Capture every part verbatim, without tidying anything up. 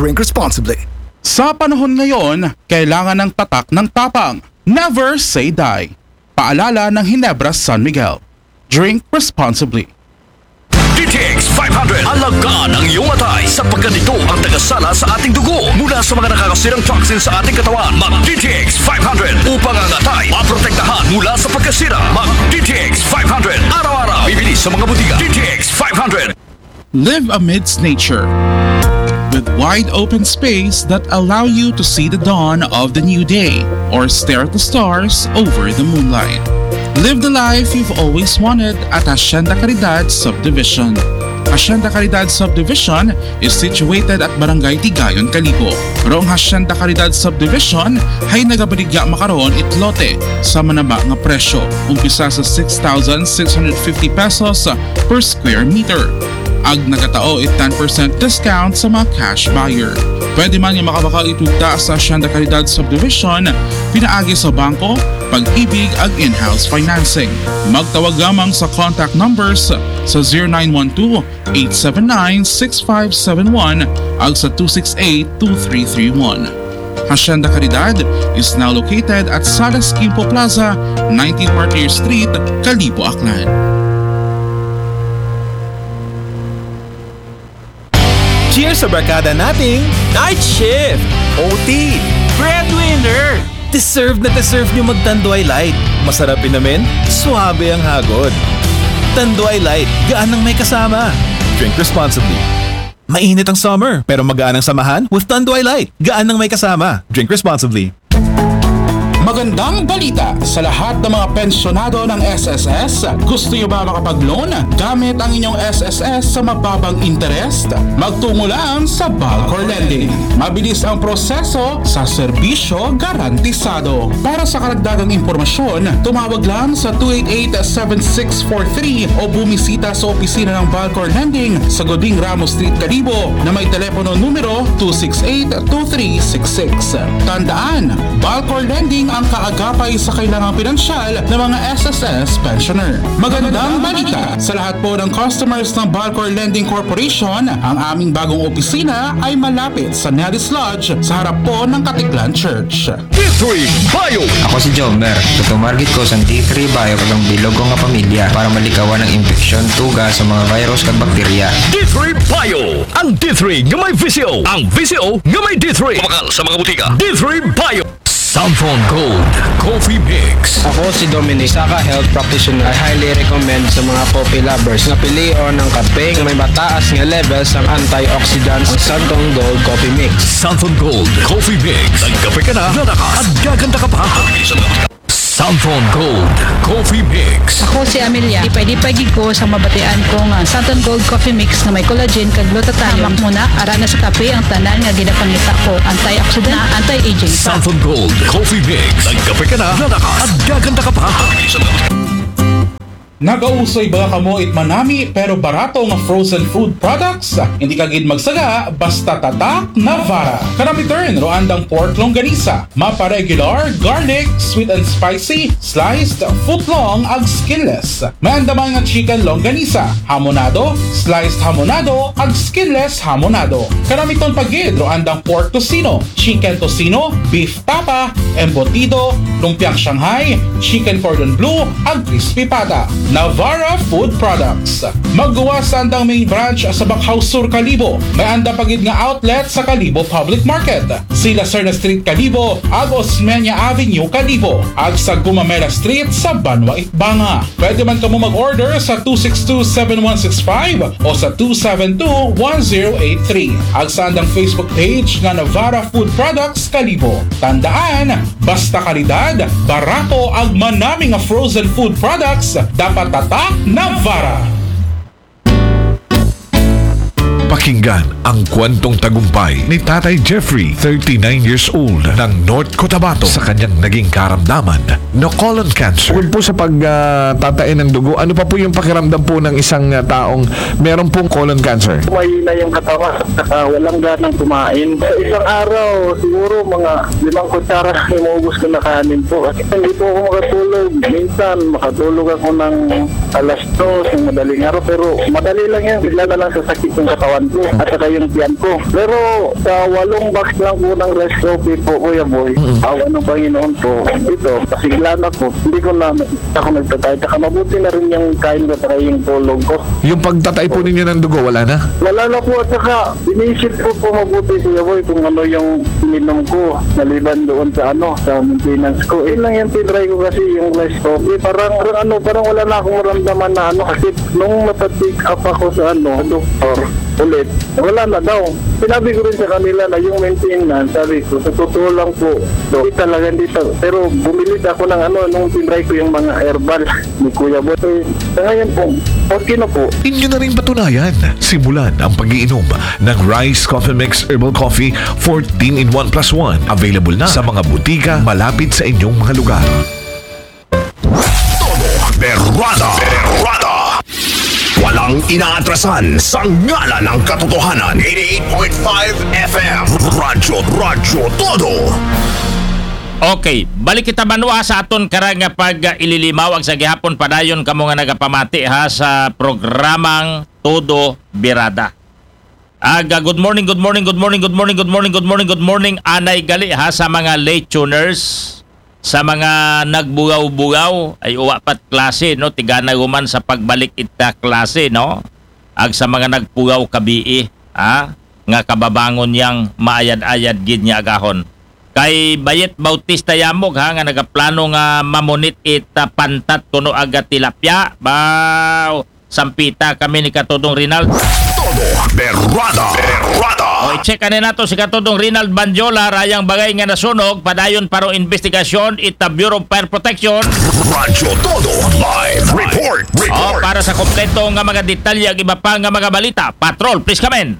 Drink responsibly. Sa panahon ngayon, kailangan ng tatak ng tapang. Never say die. Paalala ng Ginebra San Miguel. Drink responsibly. D T X five hundred. Alagaan ang iyong atay sapagkat ito ang tagasala sa ating dugo mula sa mga nakakasirang toxin sa ating katawan. Mag D T X five hundred upang ang atay maprotektahan mula sa pagkasira. Mag D T X five hundred araw-araw. Bibili sa mga butika. D T X five hundred. Live amidst nature. With wide open space that allow you to see the dawn of the new day or stare at the stars over the moonlight. Live the life you've always wanted at Hacienda Caridad Subdivision. Hacienda Caridad Subdivision is situated at Barangay Tigayon, Kalibo. Rong Hacienda Caridad Subdivision ay nagabaligya makaroon it lote sa manaba nga presyo. Umpisa sa six thousand six hundred fifty pesos per square meter. Ag nagatao it ten percent discount sa mga cash buyer. Pwede man nga makabakal itugta sa Hacienda Caridad Subdivision, pinaagi sa bangko, pag-ibig ag in-house financing. Magtawag lamang sa contact numbers sa zero nine one two, eight seven nine, six five seven one ag sa two six eight, two three three one. Hacienda Caridad is now located at Salas Quimpo Plaza, nineteen Martyr Street, Kalibo, Aklan. Cheers sa barkada nating night shift, O T, breadwinner. Deserve na deserve nyo mag Tanduay Light. Masarap inamin, suabe ang hagod. Tanduay Light, gaan ng may kasama. Drink responsibly. Mainit ang summer, pero magaan ang samahan with Tanduay Light. Gaan ng may kasama. Drink responsibly. Magandang balita sa lahat ng mga pensyonado ng S S S. Gusto nyo ba makapag-loan gamit ang inyong S S S sa mababang interest? Magtungo lang sa Balcor Lending. Mabilis ang proseso sa serbisyo garantisado. Para sa karagdagang impormasyon, tumawag lang sa two eight eight, seven six four three o bumisita sa opisina ng Balcor Lending sa Goding Ramos Street, Kalibo na may telepono numero two six eight, two three six six. Tandaan, Balcor Lending ang kaagapay sa kailangang pinansyal ng mga S S S pensioner. Magandang balita sa lahat po ng customers ng Balcor Lending Corporation, ang aming bagong opisina ay malapit sa Nelly's Lodge sa harap po ng Katiklan Church. D three Bio. Ako si Jomer. Tutumargit ko sa D three Bio kag ang bilog ko nga pamilya para malikawan ang impeksyon, tuga sa mga virus kag bakterya. D three Bio. Ang D three nga may V C O. Ang V C O nga may D three. Mabakal sa mga butika. D three Bio. Santhon Gold Coffee Mix. Ako si Dominic, isa ka health practitioner. I highly recommend sa mga coffee lovers na pilion ang kape nga may mataas nga level sa antioxidants, ang Santhon Gold Coffee Mix. Santhon Gold Coffee Mix. Nagkape ka na, lalakas, at gaganda ka pa. Santhon Gold Coffee Mix. Ako si Amelia. Lipay-lipay gid ko sa mabatian ko nga Santhon Gold Coffee Mix nga may collagen kag glutathione. Hamak mo na, ara na sa kape ang tanan nga ginapangita ko. Antioxidant, anti-aging. Santhon Gold Coffee Mix. Nagkape ka na, lalakas, at gaganda ka pa. Nagausoy ba kamo it manami pero barato nga frozen food products? Hindi ka gid magsaga basta tatak Navara. Kanami turn ro andang pork longganisa, mapa regular, garlic, sweet and spicy, sliced, foot long ag skinless. May andamay nga chicken longganisa, hamonado, sliced hamonado ag skinless hamonado. Kanami ton pagid ro andang pork tocino, chicken tocino, beef tapa, embutido, lumpiang Shanghai, chicken cordon bleu, ag crispy pata. Navara Food Products. Magguwas sa andang main branch sa Bacau Sur, Kalibo. May anda pagid nga outlet sa Kalibo Public Market, Sila Serna Street, Kalibo, ag Osmeña Avenue, Kalibo, ag sa Gumamela Street sa Banwa, Itbanga. Pwede man kamo mag-order sa two six two, seven one six five o sa two seven two, one zero eight three. Ag sa andang Facebook page nga Navara Food Products Kalibo. Tandaan, basta kalidad, barato ag manami nga frozen food products, dapat tatak Navara. Pakinggan ang kwentong tagumpay ni Tatay Jeffrey, thirty-nine years old, ng North Cotabato, sa kanyang naging karamdaman na colon cancer. Bukod po sa pagtatain ng dugo, ano pa po yung pakiramdam po ng isang ah, taong meron pong colon cancer? Mahina yung katawan, saka walang ganang kumain. Sa isang araw, siguro mga limang kutsara lang yung maubos ko na kanin po. Kasi hindi po ako makatulog. Minsan, makatulog ako ng alas dos ng madaling araw, pero madali lang yan. Bigla na lang sasakit yung katawan. at saka yung tiyan ko. Pero sa walong box lang po ng rice coffee po, Kuya Boy, Mm. awa ng Panginoon po, ito, pasigla na po. Hindi ko na ako nagtatay. Saka mabuti na rin yung kain ko saka yung tulog ko. Yung pagtatay po ninyo ng dugo, wala na? Wala na po at saka inisip ko po mabuti, Kuya Boy, kung ano yung ininom ko maliban doon sa ano, sa maintenance ko. Yun lang yung tinry ko kasi yung rice coffee. Parang, parang ano, parang wala na akong maramdaman na ano kasi nung napatik up ako sa ano, sa doktor ulit, wala na daw. Sinabi ko rin sa kanila na yung maintenance, sabi ko, sa totoo lang po, do, hindi talaga, hindi talaga. Pero bumili ako ng ano, nung tinry ko yung mga herbal ni Kuya Boy. Eh, sa ngayon po, okay na po. Inyo na rin patunayan. Simulan ang pag-iinom ng Rice Coffee Mix Herbal Coffee fourteen in one plus one. Available na sa mga butika malapit sa inyong mga lugar. Todo Berrada. Berrada. Walang inaatrasan sa ngalan ng katotohanan. Eighty-eight point five F M. Radyo, Radyo Todo. Okay, balik kita banwa sa aton karang nga pag-ililimaw ag sa gihapon padayon kamo nga nagapamati ha sa programang Todo Birada. Aga, good morning, good morning, good morning, good morning, good morning, good morning, good morning. Anay gali ha sa mga late tuners, sa mga nagbugaw-bugaw, ay uwa pat klase, no? Tigana guman sa pagbalik ita klase, no? Ag sa mga nagpugaw kabii, ha? Nga kababangon yang maayad-ayad gid nga agahon. Kay Bayet Bautista Yamog, ha, nga nagaplano nga mamunit ita pantat kuno aga tilapia. Baw, sampita kami ni Katodong Rinald. Todo Berrada. Berrada. O, i-check ani nato si Katodong Rinald Banjola, rayang bagay nga nasunog, padayon parong investigasyon ita Bureau of Fire Protection. Radyo Todo live report. O, Report. Para sa kompleto nga mga detalye ag iba pa nga mga balita, Patrol, please come in.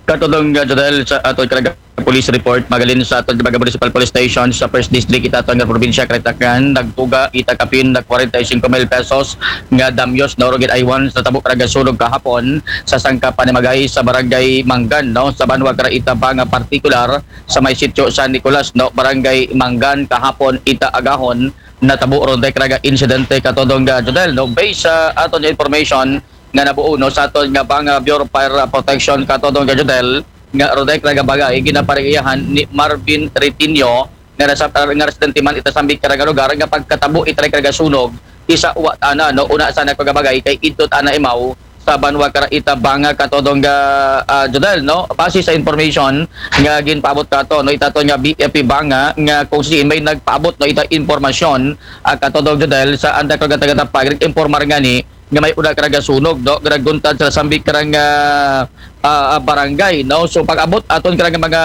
Katodong nga Jodel, sa ato karang police report, magalin sa ato mga municipal police station sa first district ita ato nga probinsya, Karitakan, nagtuga ita kapin na forty-five mil pesos nga damyos, no, rugid aywan sa tabo karang sunog kahapon sa sangka panimagay sa barangay Manggan, no, sa banwa kara ita Banga, partikular sa may sitio San Nicolas, no, barangay Manggan, kahapon ita agahon natabo ron day karang insidente, Katodong nga Jodel, no. Based sa aton nga information nga nabuo, no, sa aton nga Banga Bureau of Fire Protection, Katodong nga Jodel, nga ron day karang bagay ginaparigiyahan ni Marvin Retinio nga nasa, nga residente man ita sambit karang lugar, nga pagkatabo ita karang sunog, isa wa tana, no, una sa nagpagabagay kay idto tana imaw sa banwa kara ita Banga, Katodong nga, ah, Jodel, no. Base sa information nga ginpaabot kato, no, ita aton nga B F P Banga, nga kung si may nagpaabot, no, ita impormasyon, ah, Katodong Jodel, sa anda karang taga-tapag, nag-informar ngani nga may una karang sunog, no, nga nagguntad sa sambit karang, ah, ah, barangay, no. So pag-abot aton karang mga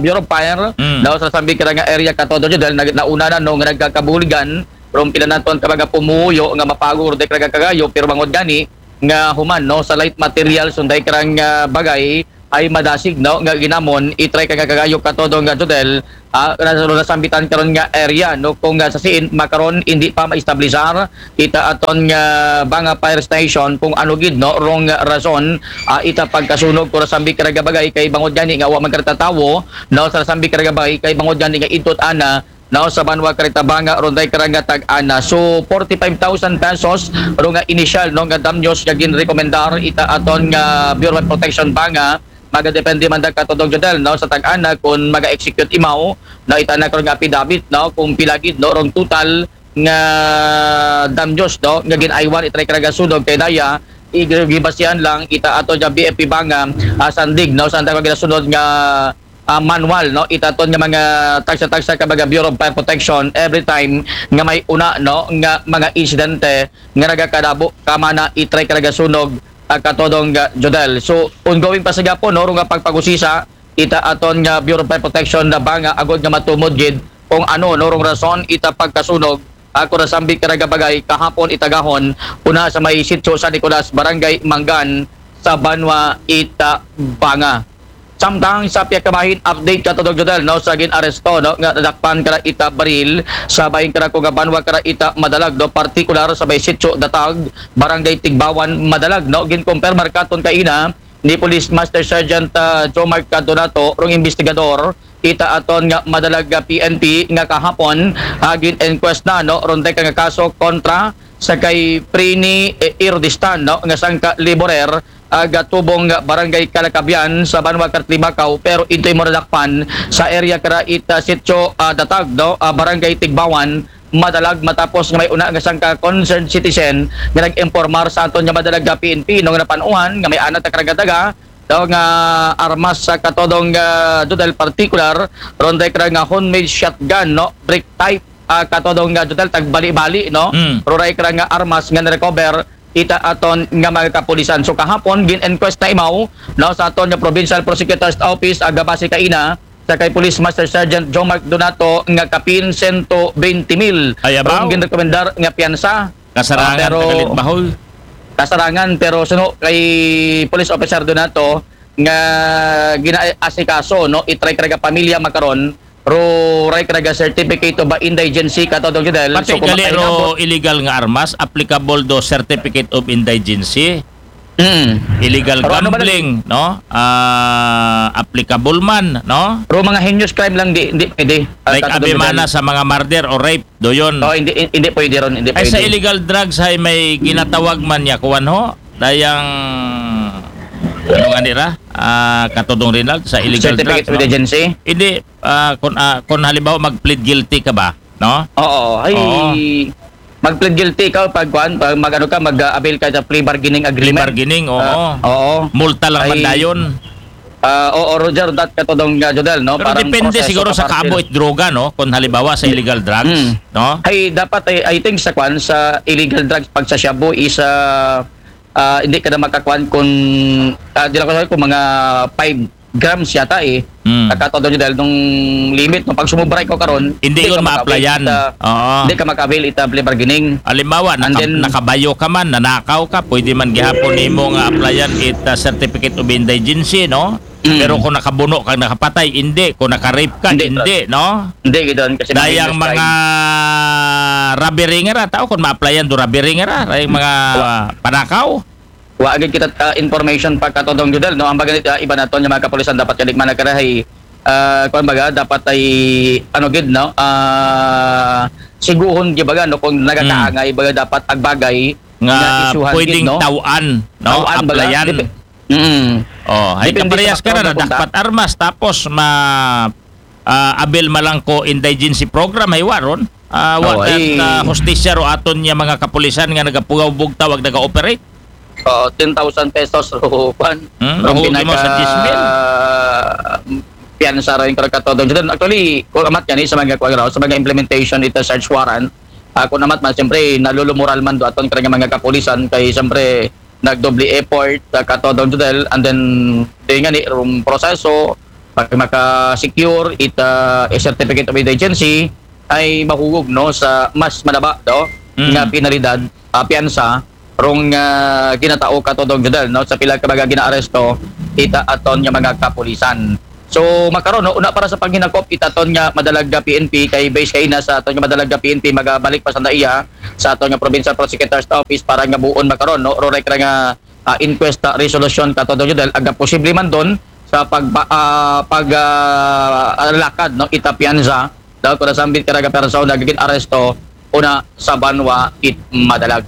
Bureau of Fire, Mm. no, sa sambit karang area, Katodong Jodel, nag-, nauna na, no, nga nagkakabuligan, pero pila naton ka mga pumuyo nga mapagor day karang kagayo, pero bangod gani nga human, no, sa light materials, unday karang, ah, bagay ay madasig, no, nga ginamon, itry karang kagayo, Katodong nga Jodel, ah, na nasambitan karon nga area, no, kung, ah, sa siin makaron hindi pa maestablisar ita aton nga Banga Fire Station kung ano gid, no, rong rason, ah, ita pagkasunog kung sambit karang bagay kay bangod gani nga wa man karang tawo, no, sa sambit karang bagay kay bangod gani nga idto tana, no, sa banwa kara ita Banga, ron day karang tag-ana. So forty-five thousand pesos ro nga initial, no, nga damyos nga ginrekomendar ita aton nga Bureau of Protection Banga. Magadepende man da, Katodong Jodel, no, sa tag-ana kung maga-execute imaw, no, ita na karong affidavit, no, kung pila gid, no, rong total nga damyos, no, nga ginaywan ita karang sunog, kay daya igibasihan lang ita aton nga B F P Banga, ah, sandig, no, sa anda karong ginasunod nga, ah, manual, no, ita aton nga mga tagsa-tagsa ka mga Bureau of Fire Protection every time nga may una, no, nga mga insidente nga nagakadabo kamana itry karang sunog, ah, Katodong nga Jodel. So ongoing pa sa gihapon, no, ro nga pagpag-usisa ita aton nga Bureau of Fire Protection na Banga agod nga matumod gid kung ano, no, rong rason ita pagkasunog, ah, kung nasambit karang bagay kahapon ita agahon, una sa may sitio San Nicolas, Barangay Manggan, sa banwa ita Banga. Samtang sa pihak ka bahin, update, Katodong Jodel, no, sa gin-aresto, no, nga nadakpan kara ita baril sa bahin kara ko nga banwa kara ita Madalag, no, partikular sa may sitio Datag, Barangay Tigbawan, Madalag, no. Ginkumpirmar katon kaina ni Police Master Sergeant, ah, Jomar Cadonato, rong investigador ita aton nga Madalag, ah, P N P, nga kahapon, ah, gin-inquest na, no, ron day ka nga kaso kontra sa kay Prini, eh, Irdistan, no, nga sangka laborer ah, gatubong Barangay Kalakabian sa Banwa Kartibakaw, pero ito'y maradakpan sa area kara ita Sitio, ah, Datag, no? Ah, Barangay Tigbawan, madalag matapos nga may una nga sangka concerned citizen nga nag-impormar sa aton nga madalag nga P N P, no, nga napanuhan nga may anat na karagadaga daw nga armas sa katodong, ah, Jodel, particular, ron day kara nga homemade shotgun, no, brick type, ah, katodong, ah, Jodel, tagbali-bali, no? Mm. Ron day kara nga armas nga na-recover ita aton nga mga kapulisan. So kahapon, gin-inquest na imaw, no, sa aton nga Provincial Prosecutor's Office, aga base kaina sa kay Police Master Sergeant Joe Mark Donato nga kapin sento bente mil. Ay, abaw. Ron ginrekomendar nga piyansa. Kasarangan, ah, pero tagalit bahol. Kasarangan, pero suno kay Police Officer Donato nga ginaasikaso, no, itry kara nga pamilya makaron, ro ray kara nga certificate of indigency, katodong Jodel. Pati so, kung gali ro makahinapo, illegal nga armas, applicable do certificate of indigency. Mm. Illegal gambling, no? Ah, applicable man, no? Pero mga heinous crime lang, di, di pwede. Ah, like, katodong Jodel, abimana sa mga murder o rape, do yun. Oh, hindi, hindi pwede ron, hindi pwede. Ay, sa illegal drugs ay may ginatawag man niya, kuwan ho? Dayang, ano nga nira? Ah, katodong Rinald, sa illegal drugs, no? Certificate of indigency? Hindi, ah, kung, ah, kung halimbawa mag-plead guilty ka ba, no? Oo, ay, oo. Mag-plead guilty ka pag, kuwan, pag mag-ano ka, mag-avail ka sa plea bargaining agreement. Plea bargaining, oo. Ah, oo. Multa lang man dayon. Ah, oo, Roger, that katodong, ah, Jodel, no? Pero parang depende proseso siguro sa kapartner. Kaabo it droga, no? Kung halimbawa sa illegal drugs, mm, no? Ay, dapat, I, I think sa kuwan, sa illegal drugs, pag sa shabu is, ah, ah, hindi ka na makakuwan kung, ah, di lang ko sabi kung mga five grams yata eh. Mm. Katodong Jodel, nung limit, no? Pag sumubra ikaw karon, hindi yun ma-applyan. Hindi ka maka-avail ita, oo, hindi ka maka-avail ita plea bargaining. Halimbawa, naka-, then, nakabayo ka man, nanakaw ka, pwede man gihapon nimo nga applyan it, ah, certificate of indigency, no? Mm. Pero kung nakabuno ka, nakapatay, hindi. Kung naka-rape ka, hindi, hindi, no? Hindi, gidon, kasi dayang mga robbery nga ra, tao kung ma-applyan do robbery nga ra, dayang mga, ah, panakaw. Wa gid kita, ah, information pa katodong Jodel, no? Ang baga, ah, iba naton nga mga kapulisan dapat kadigma na karahay, ah, kuwan baga, dapat ay, ano gid, no? Ah, siguhon gid baga, no? Kung nagakaangay, baga dapat agbagay nga isyuhan gid, pwedeng no? Taw-an, no? Taw-an baga, applyan. Dep-, mm. Oh, ay depende sa kaparehas ka na, patrol na kung dakpat armas, tapos ma-, ah, avail man lang ko indigency program, ay wa ron. Ah, wa, oh, ay, ah, hustisya ro aton nga mga kapulisan nga nagapugaw bugtaw ag naga-operate. Oh, ten thousand pesos ro, kuwan. Hmm, ro mahugi mo sa pinaka diyes mil. Piyansa ro yung katodong Jodel. Actually, kung amat yan, eh, sa mga kuwan raw, sa mga implementation ita search warrant, ah, kung amat man, siyempre, nalulumoral man do aton karang mga kapulisan, kay siyempre, nagdoble effort, ah, katodong Jodel, and then, di nga ni, rum proseso, pag maka-secure ita, eh, certificate of indigency, ay mahugog, no, sa mas malaba, no, mm, nga penalidad, ah, piyansa, rong, ah, ginatao katodong Jodel, no, sa pila ka mga ginaaresto, ita aton nga mga kapulisan. So, makaron, no, una para sa paghinakop, ita aton nga madalag nga P N P, kay base kaina sa aton nga madalag nga P N P, magabalik pa sa iya, sa aton nga Provincial Prosecutor's Office para nga buon makaron, no, ro rek ra nga, ah, inquest, ah, resolution katodong Jodel, aga posible man don sa pag, ah, pag, ah, lakad, no, ita piyansa, daw kung nasambit kara nga persona nga gin-aresto, una sa banwa it madalag.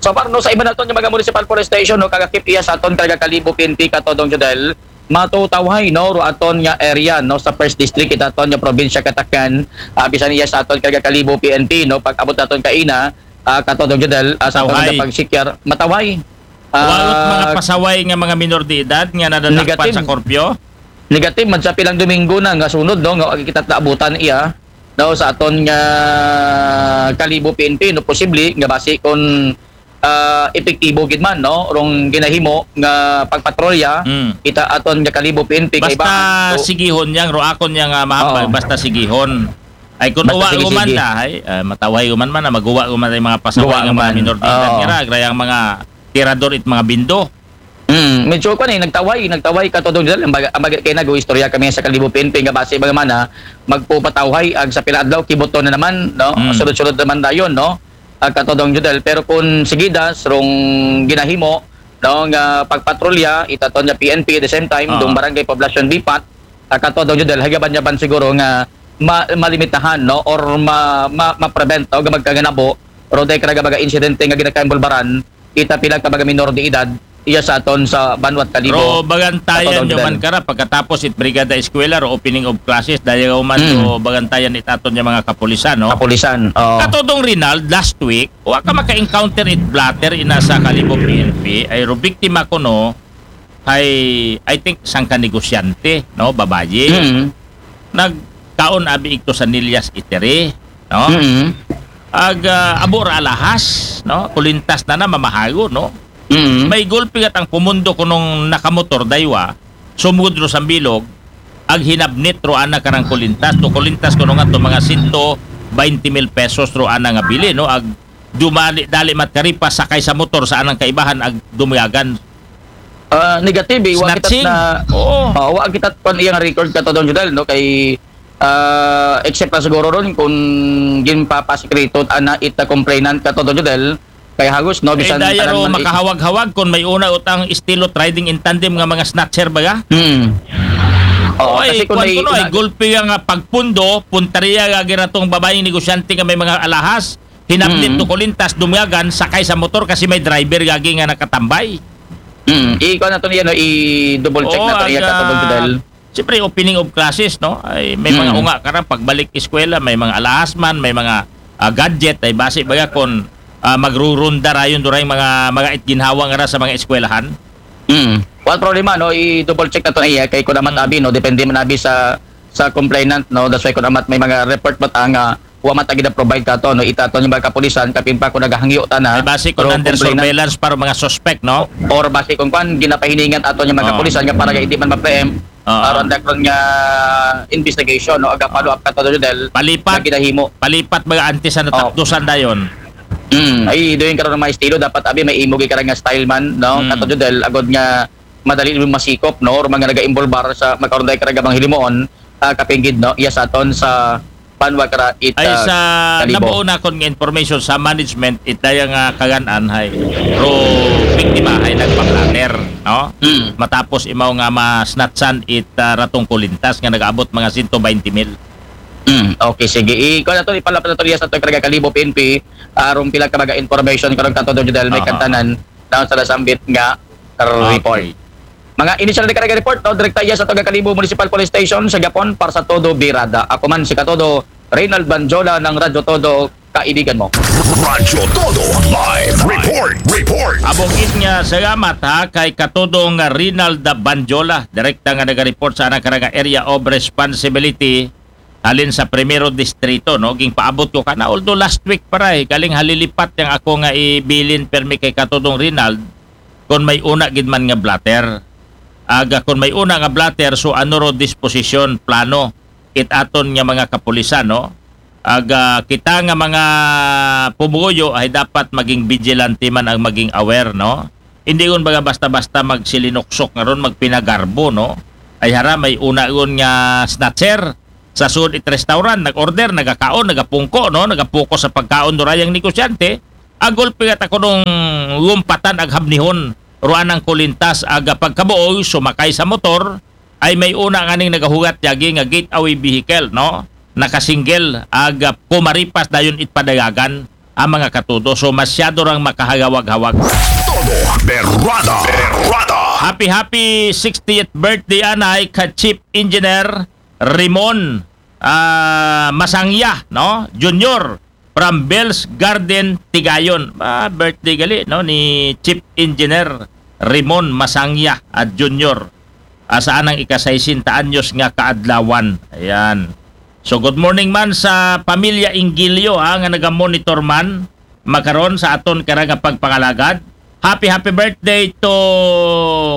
So, para, no, sa iba naton nga mga municipal police station, no, kag-akip iya sa aton kara nga Kalibo P N P katodong Jodel, matutawhay, no, ro aton nga area, no, sa first district, ita aton nga probinsya Catacan, ah, bisan iya sa aton kara nga Kalibo P N P, no, pag-abot naton kaina, ah, katodong Jodel, ah, sa aton nga pag-secure, matawhay. Wa ot mga, ah, pasaway nga mga minor de edad nga nadadakpan sa korpyo? Negative man sa pilang Domingo na nga sunod, no, nga wa kita naabutan iya, no, sa aton nga Kalibo P N P, no, posible nga basi kung, ah, epektibo gid man, no, rong ginahimo nga pagpatrolya, mm, ita aton nga Kalibo P N P kay basta sigihon yang ro akon yang, ah, mahambal, basta sigihon. Ay, kung uwa uman da, ay, ah, matawhay uman man, ah, maguwa uman ang mga pasaway nga mga minor de edad nga ra, gra yang mga tirador it mga bindo. Mm, medyo kuwan eh, nagtawhay, nagtawhay katodong Jodel, ang baga, ang baga kay nag-istorya kami sa Kalibo P N P nga basi baga man, ah, magpupatawhay, ag sa pila adlaw, kibuto na naman, no? Mm. Sunod-sunod naman dayon, no? Ag katodong Jodel, pero kung sigidas, rong ginahimo, no, nga pagpatrolya, ita aton nga P N P, at the same time, ah, dong barangay poblasyon bipat, ag katodong Jodel, hagaban-yaban siguro nga ma-, malimitahan, no, or ma-, ma-, ma-prevent, o nga magkaganabo, ro day kara nga mga insidente nga ginakaimbulbaran, ita pila ka mga minor de edad, iya sa aton sa banwat Kalibo. Ro bagantayan Aton, nyo man Fidel. Kara pagkatapos it Brigada Eskwela, ro opening of classes, dayaw man Mm. ro bagantayan it aton nga mga kapulisan, no? Kapulisan. Oh. Katodong Rinald, last week, wa ka maka-encounter it blotter ina sa Kalibo P N P, ay ro biktima ko, no? Ay, I think, sangka negosyante, no? Babayi. Mm. Nagkaon abi igto sa Nillas Eatery, no? Mm. Ag ah, abo ra alahas, no? Kulintas na na mamahago, no? Mm. May gulpi gat ang pumundo kunong nakamotor daywa, sumugod ro sa bilog, ag hinabnit ro ana karang kulintas, to kulintas kuno nga to mga sento baynte mil pesos ro ana nga bili, no? Ag dumali dali mat karipas sakay sa motor sa anang kaibahan ag dumyagan. Ah, negative eh. Wa kita Snatching. na Oo. Oh, wa kita kon iyang record, Katodong Judel, no, kay ah, except na siguro ron kung ginpapasikreto ana it complainant, Katodong Judel, kay hagos, no, Ay, bisan daya tanan ro man i- makahawag-hawag kung may una utang estilo riding in tandem nga mga snatcher baga. Hmm. Oo, Oy, kasi kung kuwan may ko no, ay na- gulpi nga pagpundo, puntaria gagi ratong babaying negosyante nga may mga alahas, hinabnit Mm. to kulintas, dumyagan, sakay sa motor kasi may driver gagi nga nakatambay. Hmm. Ikaw na to niya, no, i-double check Oo, na to niya, aga, Katodong Judel. Siyempre, opening of classes, no? Ay, may mga Mm. unga ka ra, pagbalik eskwela, may mga alahas man, may mga ah, gadget, ay basi baga kung ah, magrurunda rayon duray mga, mga itginhawa nga ra sa mga eskwelahan. Hmm. Wala problema, no? I-double check na to niya kay kung amat Hmm. abi, no, depende man abi sa sa complainant, no? That's why kung amat may mga report ba ta nga wa man ta gina-provide kato, no? Ita to yung mga kapulisan, kapin pa kung naghangyo ta na. Ay basi kung Pero under complainant surveillance para mga suspect, no? Or basi kung kwan, ginapahiningan ato yung mga Oo. kapulisan nga para hindi man ma-preempt. Oo. Aron dakron nga investigation, no? Aga follow up, Katodong Judel. Palipat. Na ginahimo. Palipat mga antes na Oo. takdusan dayon. Mm, ay, doon karon mga estilo, dapat abi may imo gi karang nga style man, no? Mm. Katodong Judel, agod nga madali mo masikop, no? Or mga naga-involbar sa makaron dahil karang gabang hilimoon, ah, kapinggid, no? Iya sa aton sa panwa kara it, Ay ah, sa Kalibo. nabuo na kon nga information sa management, it daya nga kagan-an hay ro biktima hay nagpa-blotter, no? Mm. Matapos imaw nga masnatsan it ah, ratong kulintas nga nagaabot mga sento baynte mil. Mm, okay, sige. Ikaw na to, ipalapit na to niya sa ato karang Kalibo P N P, aron pila ka mga information karon, Katodong Judel, may Aha. kantanan na sa nasambit nga report. Okay. Mga initial na karang report, no? Direkta iya sa ato Kalibo Municipal Police Station sa Gapon para sa Todo Birada. Ako man si Katodo, Reynald Banjola ng Radyo Todo, kaibigan mo. Radyo Todo Live Report. Report. Abong it nga salamat ha kay Katodong Rinald Banjola, direkta nga naga-report sa anang karang area of responsibility halin sa Primero Distrito, no? Ging paabot ko kana, although last week pa ra, eh, galing halilipat yang ako nga ibilin permi kay Katodong Rinald kung may una gid man nga blotter. Aga kung may una nga blotter, so ano ro disposisyon, plano it aton nga mga kapulisan, no? Aga kita nga mga pumuyo ay dapat maging vigilante man ang maging aware, no? Hindi gun baga basta-basta magsilinoksok nga ron, magpinagarbo, no? Ay hara, may una gun nga snatcher sa sud it restaurant, nag-order, nagakaon, nagapungko, no? Nagapuko sa pagkaon do rayang negosyante, agulpi nga ta kunong lumpatan ag habnihon ruan ang kulintas aga pagkabuoy sumakay sa motor, ay may una nga ning nagahugat yagi nga gateway vehicle, no? Nakasingle aga pumaripas dayon it padayagan ang mga katudo. So masyado rang makahagawag-hawag. Todo Berrada. Berrada. Happy happy sixtieth birthday anay ka Chief Engineer Rimon ah, Masangya, no? Junior from Bells Garden, Tigayon. Ah, birthday gali, no, ni Chief Engineer Rimon Masangya at Junior. Ah, sa anang ika-sesenta anyos nga kaadlawan. Ayan. So good morning man sa pamilya Ingilio ha, nga naga-monitor man makaron sa aton kara nga pagpangalagad. Happy happy birthday to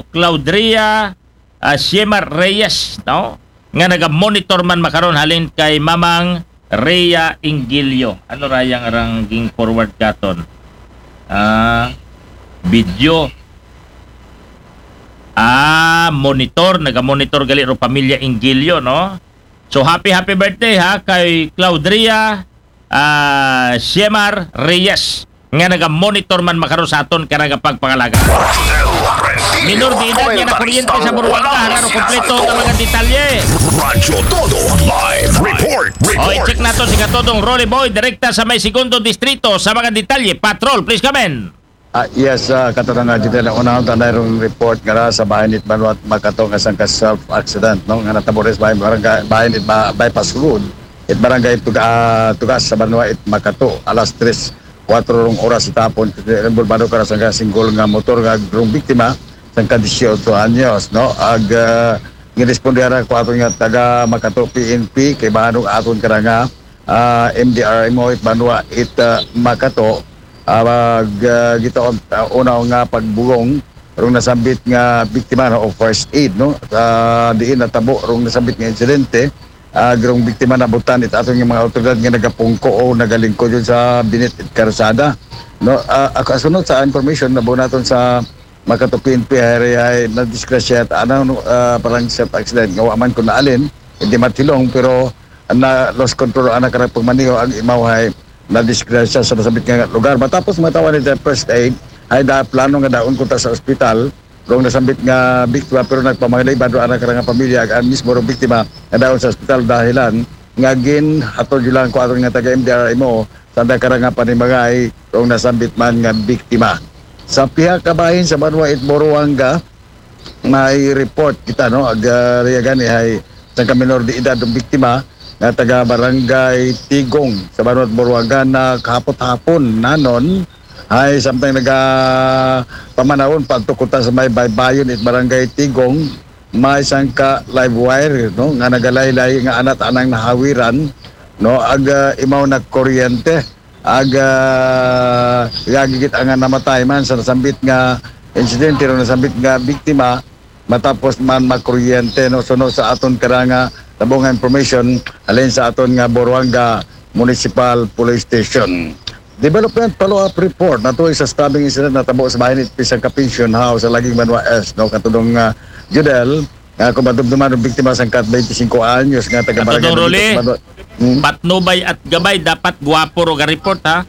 Claudria ah, Shemar Reyes, no? Nga naga-monitor man makaron halin kay Mamang Rhea Ingilio. Ano rayang arang ging forward katon? Ah, video. Ah, monitor, naga-monitor gali ro pamilya Ingilio, no? So happy happy birthday ha kay Claudria ah, Shemar Reyes nga naga-monitor man makaron sa aton kara nga pagpangalagad. Minor de edad nga nakuryente sa Buruanga, hara ro kompleto nga mga detalye. Radyo Todo Live Report. O, Report. i-check nato si Katodong Rolly Boy, direkta sa may segundo distrito sa mga detalye. Patrol, please come in. Ah, yes, ah, Kataranga Judel, ang unahon ta na rong report nga sa bahin it Banwa it Makato nga sangka self-accident, no? Nga natabo rin sa bahin, barangay, bahin it ba, bypass road. It barangay Tuga, ah, Tugas sa Banwa it Makato, alas tres, kuwatro rong oras sa tapon, bulbado ka na sangka single nga motor nga rong biktima, sangka dieciocho anyos, no? Ag, ah, giresponde ara ko aton nga taga Makato P N P, kay bahanog aton ka na nga ah, M D R M O it Banwa it, ah, Makato, ah, mag, ah, gitaon, ah, una nga pagbugong rong nasambit nga biktima, no, o first aid, no, sa diin natabo rong nasambit nga insidente, ah, rong biktima nabutan it aton nga mga awtoridad nga nagapungko o nagalingkod yun sa binit it karsada, no. Ah, ako, asunod sa information na buo naton sa Makato P N P, hari ay nadisgrasya at ano, no, ah, parang self accident nga wa man kun naalin, hindi matilong, pero na lost control ang nakarang pagmaniho ang imaw hay nadisgrasya sa nasabit nga lugar. Matapos matawan ni first aid, ay da plano nga daon kunta sa ospital rong nasambit nga biktima, pero nagpamangaliba do ang nakarang pamilya ang mismo rong biktima nga daon sa ospital dahilan nga gin hatod lang ko aton nga taga M D R M O sa nakarang nga panimagay rong nasambit man nga biktima. Sa pihak kabahin sa Banwa it Boruanga, may report kita, no, ag, ah, riyagan ni hay sangka minor de edad ng biktima nga taga barangay Tigong sa Banwa it Boruanga na kahapot-hapon nanon ay samtang naga pamanawon pagtukutan sa may baybayon it barangay Tigong, may sangka live wire, no, nga nagalaylay nga anat anang nahawiran, no, ag, ah, imaw na kuryente. Ag, ah, gagigit ang namatay man sa nasambit nga insidente, no, nasambit nga biktima, matapos man makuryente, no, suno sa aton karanga tabong nga information, halin sa aton nga Boruanga Municipal Police Station. Development follow-up report na tuloy sa stabbing incident na tabo sa bahin it pisang ka pension house sa Laging Banwa Est, no, katulong nga Judel, nga kung madumduman ang biktima sa kat twenty-five anyos nga taga Katulong Barangay Roli. Benito, sa Banwa. Hmm? Patnubay at gabay, dapat guwapo ro ga report, ha?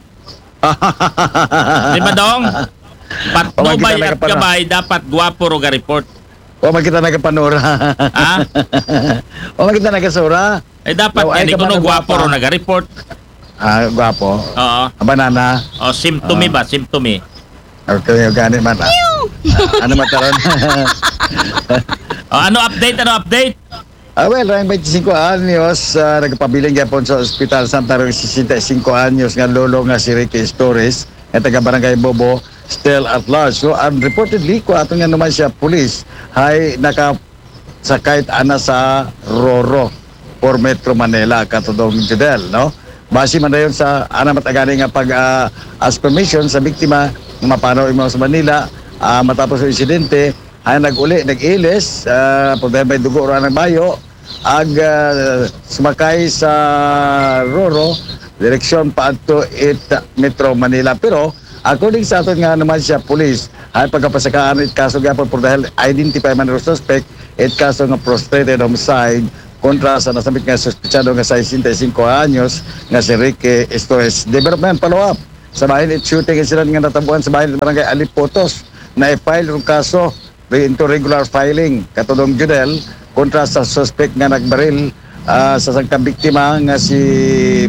Di ba, Dong? Patnubay at gabay, dapat guwapo ro ga report. O makita na kapanura. Ha? O makita na kasura. Eh, dapat yan, ikaw na guwapo ro naga-report. Ah, guwapo. Oo. Ang banana. O, symptomy ba? Symptomy. Okay, okay, ano man. Ah, ano man taron? O, ano update? Ano update? Ah, well, ang twenty-five anyos, ah, nagpabiling gyapon sa ospital samtang sesenta y cinco anyos nga lolo nga si Ricky Estores, nga taga Barangay Bobo, still at large. So, ang reportedly, ko ato nga naman siya, police, hay nakasakay ana sa Roro for Metro Manila, katudong Judel, no? Base man dayon sa ana matagani nga pag, ah, ask permission sa biktima, nga mapanaw imo sa Manila, ah, matapos ang insidente, ay nag-uli, nag-ilis, ah, pagdahil may dugo ra nagbayo, ag, ah, sumakay sa Roro, direksyon paadto it Metro Manila. Pero, according sa aton nga naman siya, police, ay pagkapasakaan it kaso gyapon por dahil identify man ro suspect, it kaso nga frustrated homicide kontra sa nasambit nga suspetsado nga sesenta y cinco anyos nga si Ricky Estoes. Development follow-up sa bahin it shooting incident nga natabuan sa bahin barangay Alipotos. Na-file rong kaso into regular filing, katulong Judel, kontra sa suspect nga nagbaril, ah, sa sangka biktima nga si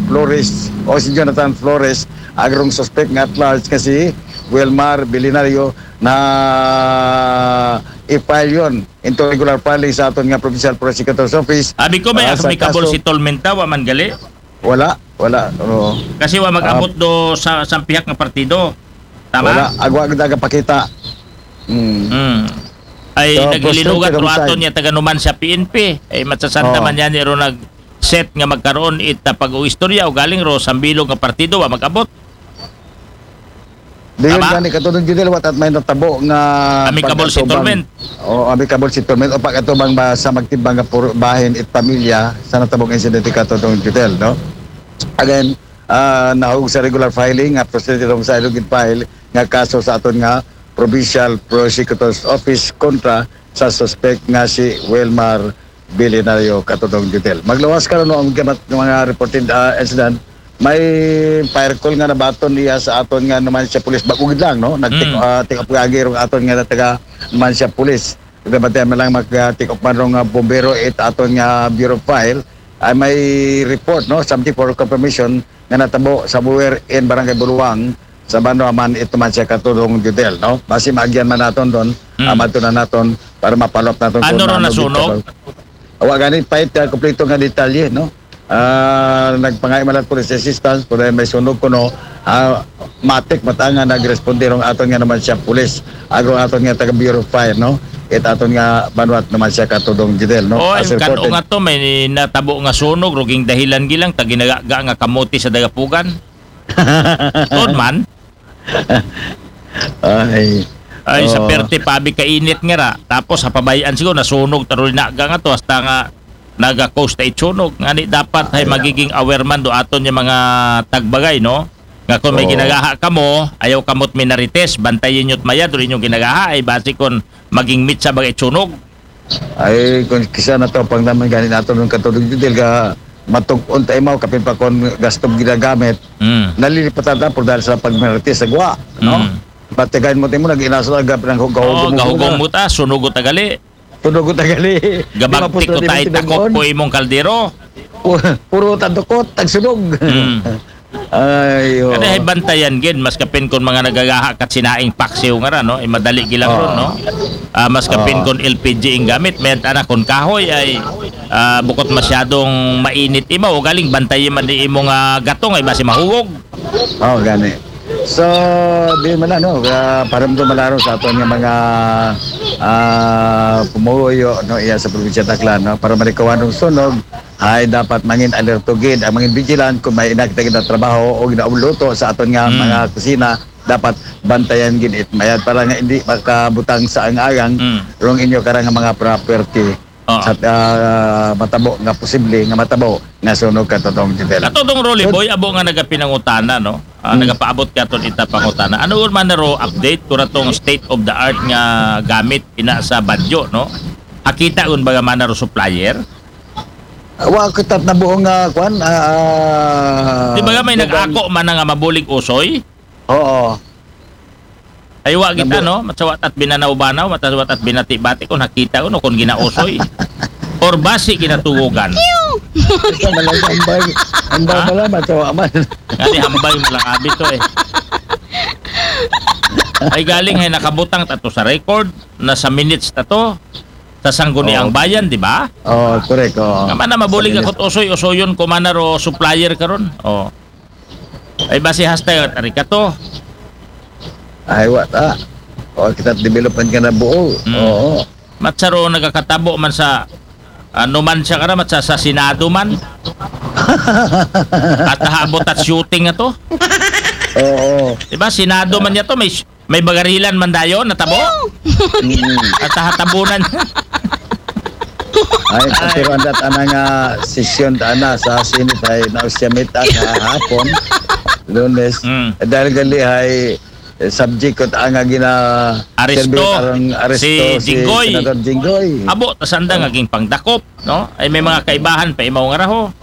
Flores o si Jonathan Flores, agrong suspect nga at large nga si Wilmar Bilinario na i-file yon into regular filing sa aton nga Provincial Prosecutor's Office. Abi ko may ah, sa kaso si Tolmenta, wa man gali? Wala, wala. Oo. Kasi wa mag-abot ah, do sa, sa pihak nga partido. Tama? Wala, agwa kita kapakita. Hmm. Hmm. Ay, so, naghililugat ro aton niya taga Numancia P N P. Ay, matsasanta man yan, iro nag-set nga magkaroon it na pag-uistorya o galing ro sa bilog nga partido, wa mag-abot. Dayon gani katulong Judel, what at may natabo nga amicable settlement. O amicable settlement o pag-atubang ba sa magtibang nga bahin it pamilya sa natabong insidente katulong Judel, no? Again, ah, nahog sa regular filing nga proseso sa ilog file nga kaso sa aton nga Provincial Prosecutor's Office kontra sa suspect nga si Wilmar Bilinario katudong Judel. Maglawas ka no ang gamat ng mga reported ah, incident. May fire call nga nabaton niya sa aton nga naman siya pulis bagugid lang, no? Nag-take mm. uh, take up agi rong aton nga taga naman siya pulis. Nabatian man lang mag-take up man rong uh, bombero it aton nga bureau file ay may report, no, something for confirmation nga natabo sa Buwer in Barangay Buluwang sa banwa man ito man siya katudong Judel, no? Basi maagyan man naton doon, Hmm. ah, madto na naton para mapalop naton Ano kung ron ano nasunog? dito. Wa gani pa ito kompleto nga detalye, no? Ah, nagpangay man lang police assistance, pero may sunog kuno, ah, matik matanga nagresponde rong aton nga naman siya police, ago aton nga taga Bureau of Fire, no? It aton nga banwat naman siya katudong Judel, no? Oh, As ang kano reported. Nga to, may natabo nga sunog, ruging dahilan gilang, taginaga nga kamote sa dagapugan. Tuod man. Ay. Ay, sa Oh. perte pabi kainit nga ra. Tapos, sa pabayaan siguro, nasunog, tarulinaga nga to, hasta nga naga-cause ta itsunog. Ngani dapat ay magiging aware man do aton yung mga tagbagay, no? Nga kung may Oo. Ginagaha kamo, ayaw kamot minarites, bantayin nyo't mayad, rin yung ginagaha, ay basi kung maging mitsa bagay itsunog. Ay, kung kisa na to, pang naman gani nato nung katulog dito, ka matug-on tayo mo, kapin pa kung gasto ginagamit, Mm. nalilipatan na po dahil sa pagmarate sa guwa, no? Mm. Patigain mo tayo mo, nag-inaso na gap ng Oo, hugahugong gahugong mo ta, sunugot agali. Sunugot agali. Gabagtik ko tayo takok ko imong kaldero. Puro tadukot, tagsunog. Mm. Ay, oh. Kada hay bantayan gid, mas kapin kung mga nagagaha kat sinaing paksiw nga ra, no? Eh, madali gilang Oo. ron, no? Ah, mas kapin Oo. Kung L P G ang gamit, may tana kung kahoy ay ah, bukot masyadong mainit imaw, o galing bantayan man di imo nga gatong ay basi mahugog. Oh, gani. So, di man ano, uh, para mo malaron sa aton nga mga ah, pumuyo, no, iya sa probinsya Taclan, no, para malikawan ng sunog, ay dapat mangin alerto gid ang mangin vigilant kung may inakita kita trabaho o ginauluto sa aton nga Mm. mga kusina, dapat bantayan gid it mayad para nga hindi makabutang sa ang agang Mm. rong inyo karang nga mga property Oo. sa ah, matabo nga posible nga matabo nga sunog katotong Judel. Katodong Rolly So- Boy, abo nga nagapinangutana, no? Ah, Hmm. Nagapaabot ka ton ita pangutana. Ano man na ro update kung atong state of the art nga gamit ina sa Baguio, no? Akita un baga man na ro supplier? Wa ko tat na buong nga kwan. Ah, Di ba nga may dugang- nag-ako man na nga mabulig usoy? Oo. Ay wa kita, Nabu- no? Matsawa tat binanaw-banaw, matsawa tat binati-bati kung nakita ko, no, kung ginausoy. Or basi ginatugugan. Ito malang hambay. Hambay Ha? pala, matawa man. Ngani hambay mo lang abi to eh. Ay galing hay nakabutang tato sa record, na sa minutes tato, sa Sangguniang Oo. Bayan, di ba? Oh, correct. Oh. Nga man na mabulig Sa ako usoy-usoyon ko man na ro supplier karon. Oh. Ay basi hasta tari ka to. Ay, wa ta. O, kita development ka na buo. Mm. Oo. Matsaro nagakatabo man sa ano man siya kara, matsa sa Senado man. At nahabot at shooting na to. Oo. Di ba? Senado man niya to, may may bagarilan man dayon, natabo. Mm. At tahatabunan. Ay, pero ang dat ana nga sesyon ta ana sa Senate ay nausyamit ka hapon, Lunes. Mm. Eh, dahil gali ay eh, subject ko ta nga gina Aresto. serve karang aresto Si Jinggoy. Senador Jinggoy. Abo, tasanda nga ging pangdakop, no? Ay may mga kaibahan pa imaw nga raho.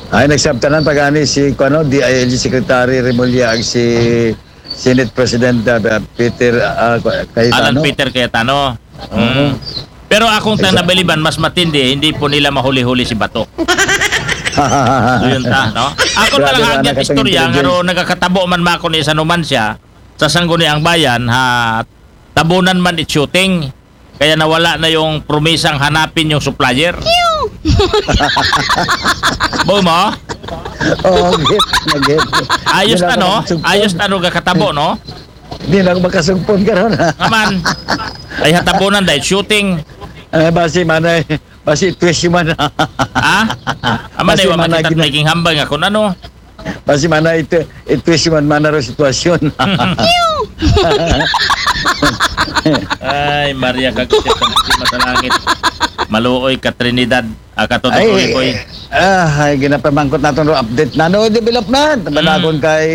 Ay, nagsabtanan pa gani si, kuno, D I L G Secretary Remulla ag si Senate President uh, Peter uh, Cayetano. Alan Peter Cayetano. Oo. Mm. Pero akong tang Exactly. Nabiliban, mas matindi, hindi po nila mahuli-huli si Bato. So yun ta, no? Ako Grabe talaga na agad nakatang istorya, nga intelligence. ro nagakatabo man ma ako ni sa numan siya, sa Sangguniang Bayan, ha, tabunan man it shooting, kaya nawala na yung promisang hanapin yung supplier. Bo mo? Oo, git, nagit. Ayos Yun na, ang no? nagsugpon. Ayos na, no? Kakatabo, no? Di na ako makasugpon karon. Aman. Ay, hatabunan dahil shooting. Eh, basi manay, basi twist man. Ha? Aman Basi ay, wa manay makita gina- naging hambal nga kung ano. Basi manay ito, itwist man man ang sitwasyon. Ay, Maria, kagkit ang puti matalangit. Maluoy ka Trinidad. Ah, katotoo, Rolly Boy. Ah, ay, ginapamangkot natin ro update na no development. Banagon Mm. kay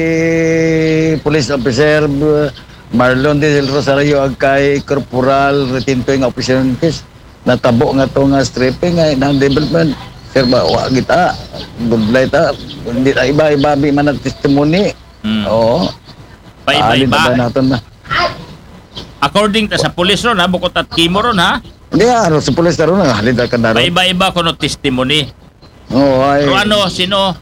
Police Officer uh, Marlon Del Rosario ag kay Corporal Retintoy nga officer ng case. Natabo nga to nga stripping ay ng development. Sir ba, wa kita. Budlay ta. Hindi na iba-iba bi man ang testimony. Mm. Oo. Alin Paiba-iba. na ba natin na? According ta sa pulis ron, ha, bukod at kimo ron, ha? Hindi, ano, sa pulis na ron, halin ka na ron. Paiba-iba ko no testimony. Oo, ay. Pero ano, sino?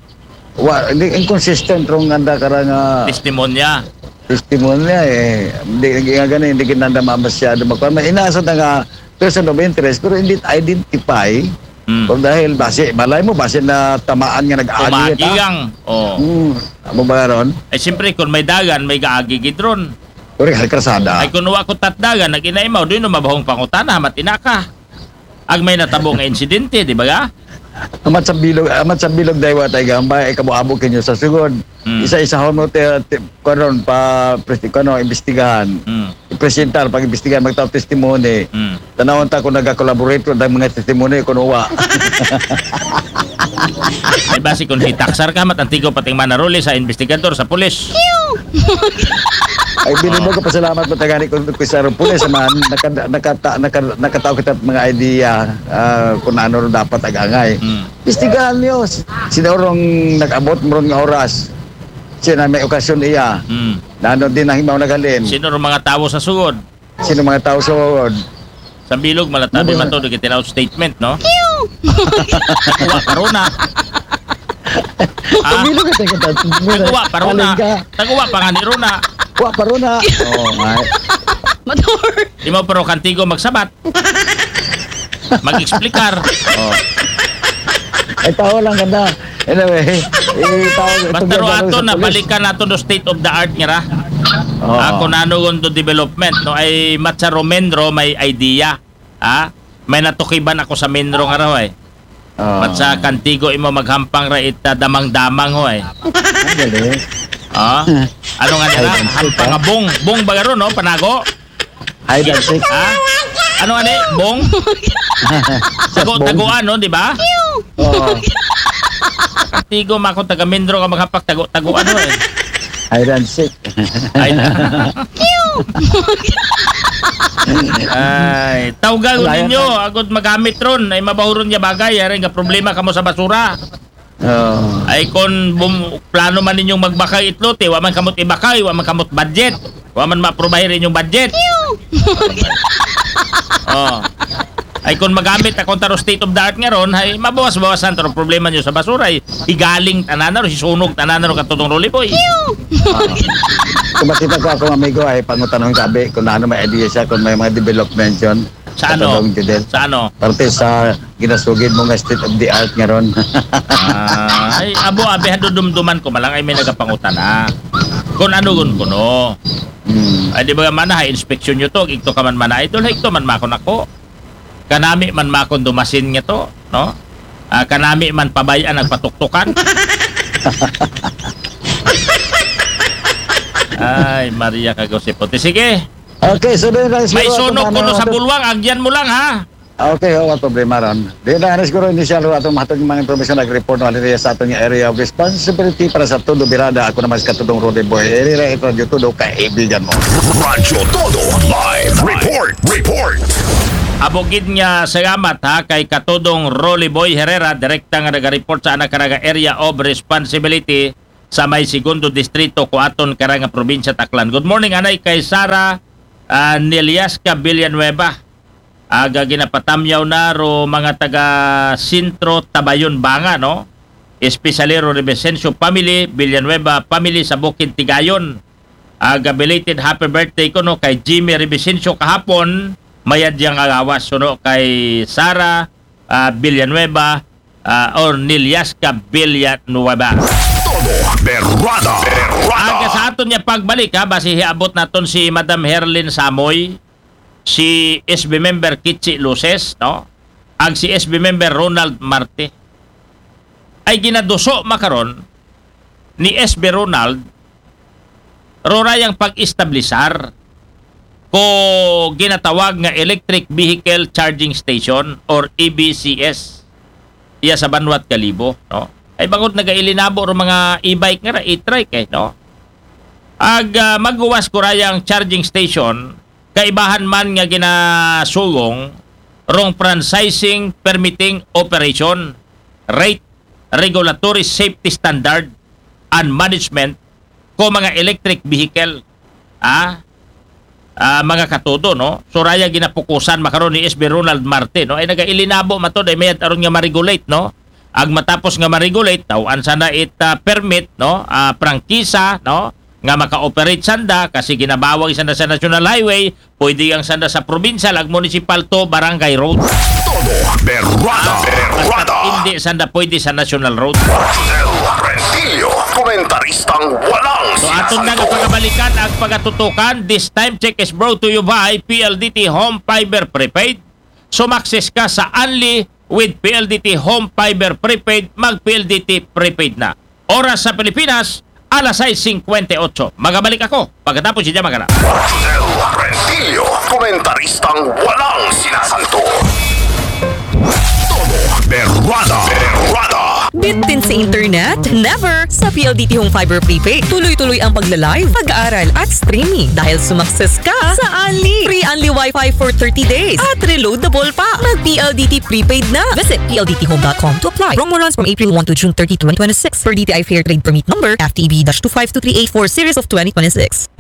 Wa, hindi, inconsistent rong anda karang ah, Testimonya. testimonya eh. Hindi, hindi nga gani, hindi kinanda masyado magkuhan. May inasa na nga person of interest, pero hindi identify. Mm. Kung dahil basi, malay mo, basi na tamaan nga nag-agi Umagi ta. Gang. Oh. Hmm, amo ba ron? Ay, siyempre, kung may dagan, may gaagi gid ron. Pero kalkrasada. Ay, kung wa ko tatdagan, nag-inaimaw, doon mabahong pangutana, matina ka. Ag may natabo nga insidente, di ba ga? Amat sa bilog, amat sa bilog daywa tay gambay, ay kabo-abo kinyo sa sugod. Mm. Isa-isahon mo te, te, karon pa presti-, kano, imbestigahan. Mm. Ipresentar, pag-imbestigahan, magtaw testimony. Mm. Tanawon ta kung nag-collaborate ko dahil mga testimony kung uwa. Ay, basi kung hitaksar ka, matantigo pating manaruli sa investigador, sa pulis. Ay, binubo ka pasalamat mo tagani kung kung sa pulis man, nakata, nakata, naka, nakataw kita mga idea ah, kung ano rin dapat agangay. Mm. Istigahan niyo, sinorong nag-abot mo ron nga oras. Sina may okasyon iya. Mm. Nano din ang himaw naghalin. Sino rin mga tao sa sugod? Sino mga tao sa uod? Sa bilog, malatabi Ano? man to, di kita statement, no? Taguwa pa runa. Ah, Pamilo ka tayo kita. taguwa pa runa. Alin ka? Taguwa pa nga ni runa. Wa pa runa. Oo, nga. Motor. Di mo pero kantigo magsabat. Mag-explicar. Oh. Ay, tao lang ganda. Anyway, itawag Basta ro ato na balikan nato do state of the art nga ra. Oo. Ah, kung ano yung do development, no? Ay matsa Romendro may idea. Ah, may natukiban ako sa Menro nga raw eh. Oo. Matsa kantigo imo maghampang ra ita damang-damang ho eh. Ang galing. Ah, ano nga nila? Ay, ang Hampang sweet, nga bong. Bong ba garo, no? Panago? Hide and seek. Ha? Ano nga ni? Bong? Tago, taguan, no? Di ba? Oo. Tigo ma ako taga Mindro ka maghapak tago, taguan, no? Eh. Hide and seek. Ay, ay, tawgan ko Wala yan, ninyo, agod magamit ron, ay mabahuron niya bagay, ay nga problema kamo sa basura. Oo. Ay kung bum- plano man ninyong magbakay itlot, eh, wa man kamot ibakay, wa man kamot budget, wa man ma-approve inyong budget. Oh. Ay kung magamit akong taro state of the art nga ron, ay mabawas-bawasan taro problema nyo sa basura, ay igaling tanan na ro, sisunog tanan na ro katutong Rolly Boy. Kung makita ko akong amigo ay pangutanong sabi kung ano may idea siya kung may mga development yun. Sa ano? Katulong, Judel. Sa ano? Parte sa ginasugid mo nga state of the art nga ron. Ah, ay, abo, abi, hadudumduman ko malang ay may nagapangutana. Kung ano gun kuno. Hmm. Ay, di ba mana, ha, inspeksyon nyo to, igto ka man mana, idol, ha, igto man makon ako. Kanami man makon dumasin nga to, no? Ah, kanami man pabayaan nagpatuktukan. Ay, Maria Kagosipote. Sige, Okay, so doon lang may siguro sunog atong kuno ano, sa atong- bulwang, agyan mo lang, ha? Okay, oh, walang problema ron. Di na nga siguro initial ho atong mahatod ng mga impormasyon nag-report ng Valeria sa atong area of responsibility para sa Todo Birada. Ako naman si Katudong Rudy Boy. Area ito, dito daw kaibigan mo. Radyo Todo Live Report. Report. Abogid nga salamat ha kay Katudong Rolly Boy Herrera, direkta nga naga-report sa anak karaga area of responsibility sa may segundo distrito ko aton karaga probinsya Taclan. Good morning anay kay Sara uh, Neliasca Villanueva. Aga ginapatamyaw na ro mga taga Sentro Tabayon Banga, no? Especially ro Revesencio family, Villanueva family sa Bukid Tigayon. Aga belated happy birthday ko no kay Jimmy Revesencio kahapon, mayad yang agawas, no, kay Sara ah, Villanueva ah, or Niliasca Villanueva. Todo Berrada. Berrada. Aga sa aton niya pagbalik ha, basi hiabot naton si Madam Herlin Samoy, si S B member Kichi Luces, no? Ag si S B member Ronald Marte. Ay ginaduso makaron ni S B Ronald, rorayang pag-establisar ko ginatawag nga Electric Vehicle Charging Station or E V C S iya sa Banwat Kalibo, no? Ay bangod nagailinabo ro mga e-bike nga ra, e-trike eh, no? Ag ah, maguwas ko rayang charging station, kaibahan man nga ginasugong rong franchising permitting operation, rate, regulatory safety standard, and management ko mga electric vehicle, ah, ah, mga katudo, no? So raya ginapukusan makaron ni S B Ronald Marte, no? Ay nagailinabo matod ay mayad aron nga ma-regulate, no? Ag matapos nga ma-regulate, taw-an sanda it ah, permit, no, ah, prangkisa, no, nga maka-operate sanda kasi ginabawag sanda sa national highway, pwede ang sanda sa provincial ag municipal to barangay road. Todo berrada, berrada. Hindi sanda pwede sa national road. Rosel Rentillo, komentaristang walang So aton na nga sinasanto. Pagabalikan ang pagatutukan. This time check is brought to you by P L D T Home Fiber Prepaid. Sumakses ka sa Unli with P L D T Home Fiber Prepaid. Mag P L D T Prepaid na. Oras sa Pilipinas, alas sais singkwenta y ocho. Magabalik ako pagkatapos si Jamagana. Rosel Rentillo, komentaristang walang sinasanto. Todo berrada, berrada. Bitin sa internet? Never! Sa P L D T Home Fiber Prepaid, tuloy-tuloy ang pagla-live, pag-aaral at streaming dahil sumakses ka sa Unli. Free Unli Wi-Fi for thirty days at reloadable pa. Mag P L D T Prepaid na. Visit P L D T home dot com to apply. Promo runs from April one to June thirty, twenty twenty-six, per D T I Fair Trade Permit number F T B dash two five two three eight four series of twenty twenty-six.